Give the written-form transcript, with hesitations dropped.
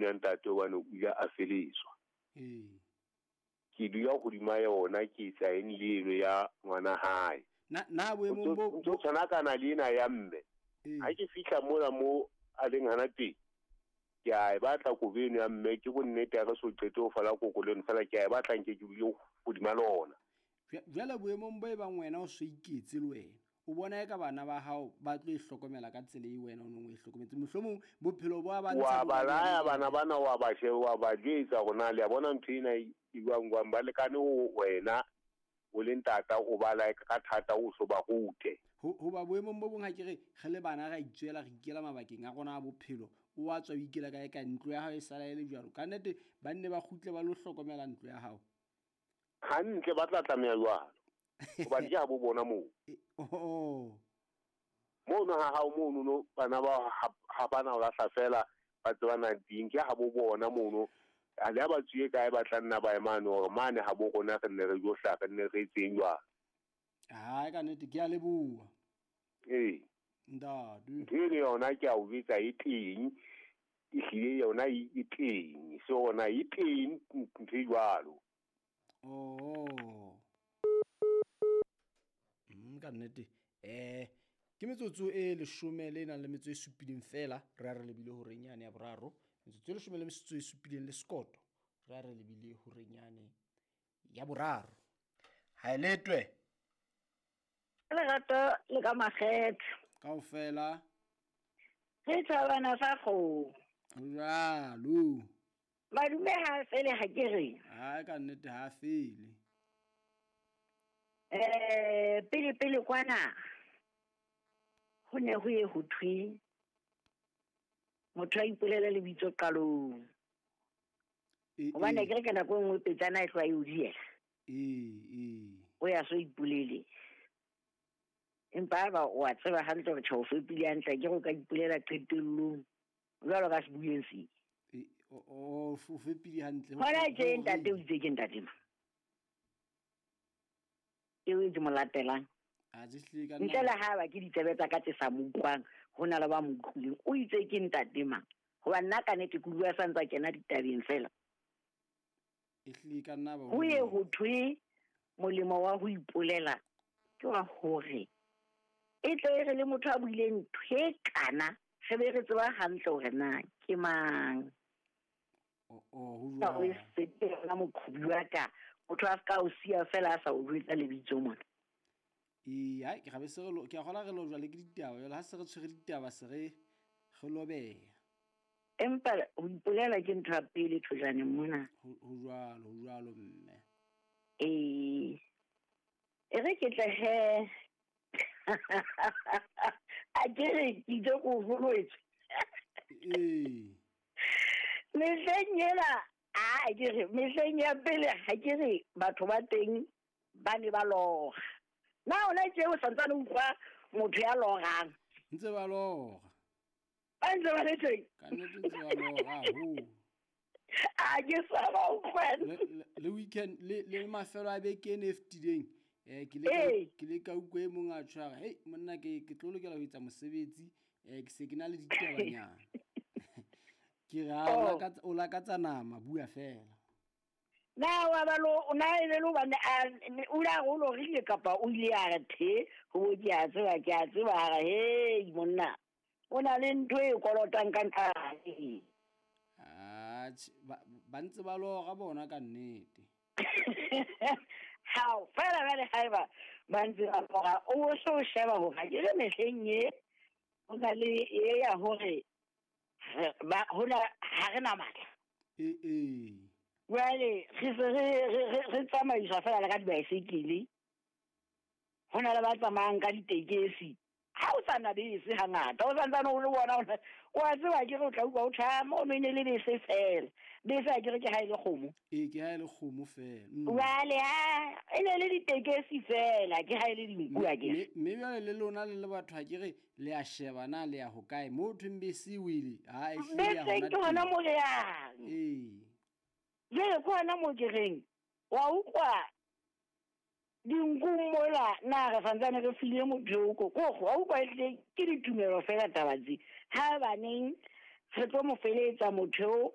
eno ya ntate hobane o ile a feletswa. Ee. Ke dula hodima yona ke etsa eng le eno ya ngwana hae. Na na boemong bo Ntho tshwana kana le ena ya mme. Ee. Ha ke fihla mona mo a leng hana teng, ke a e batla kobo eno ya mme, ke bonnete ha re so qete ho fala koko le eno fela ke a e batla nke ke dule hodima lona. Jwale boemong bo e bang wena o so iketse le wena, o bona eka bana ba hao ba tlo e hlokomela ka tsela e wena o neng o e hlokometse. Mohlomong bophelo bo a ba Wa ntsha bo ba ba laya le- bana bana, wa ba she, wa ba jwetsa hore na le a bona ntho ena e jwang jwang, ba lekane ho wena o le ntata, o ba laye ka thata, o so ba rute. Hoba boemong bo bong ha ke re re le bana ra itswela, re ikela mabakeng a rona a bophelo, o a tswa o ikela kae kae, ntlo ya hao e sala e le jwalo. Ka nnete ba nne ba kgutle ba lo hlokomela ntlo ya hao. Hantle ba tla tlameha jwalo. Hobane ke ha bo bona moo. Oh. Mono ha hao mono no bana ba ha bana ho lahla fela ba tsebana teng, ke ha bo bona mono. Ha le ha ba tswile kae ba tla nna ba emane hore mane ha bo rona re nne re jo hlaha, re nne re etseng jwalo. Hai, ka nnete ke a leboha. Ee. Ntate. Ntho eno yona ke a o jwetsa e teng, ehlile yona e teng, se yona e teng ntho e jwalo. Oh. Ka nnete. Ke metsotso e leshome le nang le metso e supileng fela, re a re lebile horeng yane ya boraro. Metsotso e leshome le metso e supileng le sekoto, re a re lebile horeng yane ya boraro. Ha e letwe. Lerato le ka makgethe. Kaofela. Re thabana sa kgomo. Jwalo. Madume ha fele ha ke re. Ha ka nnete ha fele. Pele pele kwana ho ne ho ye ho thwe motho a ipolele lebitso qalong. Hobane ke re ka nako e nngwe petsana e tloha e o diela. O ya so ipolele. Empa ba o a tseba hantle hore tjhe o fepile hantle, ke re o ka ipolela qetellong jwalo ka sebueng se. O fepile hantle. Hona tje ntate o itse ke ntate ma. Eo e ke mo latelang. A je hlile ka nna. Ntle le ha ba ke ditsebe tsa ka tse sa mo utlwang, ho na le ba mo utlwileng. O itse ke ntate mang? Hoba nna ka nnete ke utlwa sa ntsa kena ditabeng fela. E hlile ka nna ba Ho ye ho thwe molemo wa ho ipolela ke wa hore e tle e re le motho a buileng ntho e kana, re be re tseba hantle hore na ke mang. Ho Ka jwalo. o se ke yona moqhobi wa ka, motho a ska o siya fela a sa o jwetsa lebitso mona. Ee, hai, ke gabe se re lo, ke a kgolwa re lo jwale ke ditaba, jwale ha se re tshwere ditaba se re lobeha. Empa ho ipolela ke ntho ya pele thojaneng mona. Ho jwalo, ho jwalo mme. Ee. E re ke tle he. A ke re ke itse ko holwetse. Ee. Mehleng ena, a ke re mehleng ya pele ha ke re batho ba teng ba ne ba lora. Na hona tje o santsane o utlwa motho ya lorang? Ntse ba lora. Ba ntse ba le teng? Ka nnete ntse ba lora haholo. A ke sa ba utlwa. Le weekend, le mafelo a beke ene e fetileng, ke le ka utlwa e mong a tshwara, hei monna ke tlo lokela ho etsa mosebetsi, ke se ke na le ditabanyana. Ke re, ha, o lakatsa nama, bua fela. Na wa ba lo, o na e le lo bane, a, ne, o la re o lorile kapa o ile a re the, ho bo ke a tseba, ke a tseba, a re, hei, monna, o na le ntho e kolotang ka ntlha. Atjhe, ba ntse ba lora bona ka nnete. Hao, fela jwale haeba ba ntse ba lora, o so sheba hore ha ke re mehleng e, ho na le e ya hore ba, hona, ha re na matla. Ee. Jwale, re se re tsamaiswa fela le ka dibaesekele. Ho na le ba tsamayang ka ditekesi. Ha o sa na bese hangata, o santsane o le bona, o a tseba ke re o tla utlwa o tjha, mono e ne le bese fela. Bese ha ke re ke ha e le kgomo. Ee, ke ha e le kgomo fela. Jwale, ha, e ne le ditekesi fela, ke ha e le dinku ha ke re. Mme jwale le lona le le batho ha ke re le a sheba na le ya hokae, moo thweng bese e wele, ha e hlile ya Bese hona ke hona teng. mo re yang. Ee. Jwale ke hona mo ke reng, wa utlwa dinkung mola, na re santsane re file motho eo ko, ko, wa utlwa ehlile ke ditumelo fela taba tse. Ha baneng re tlo mo feletsa motho eo,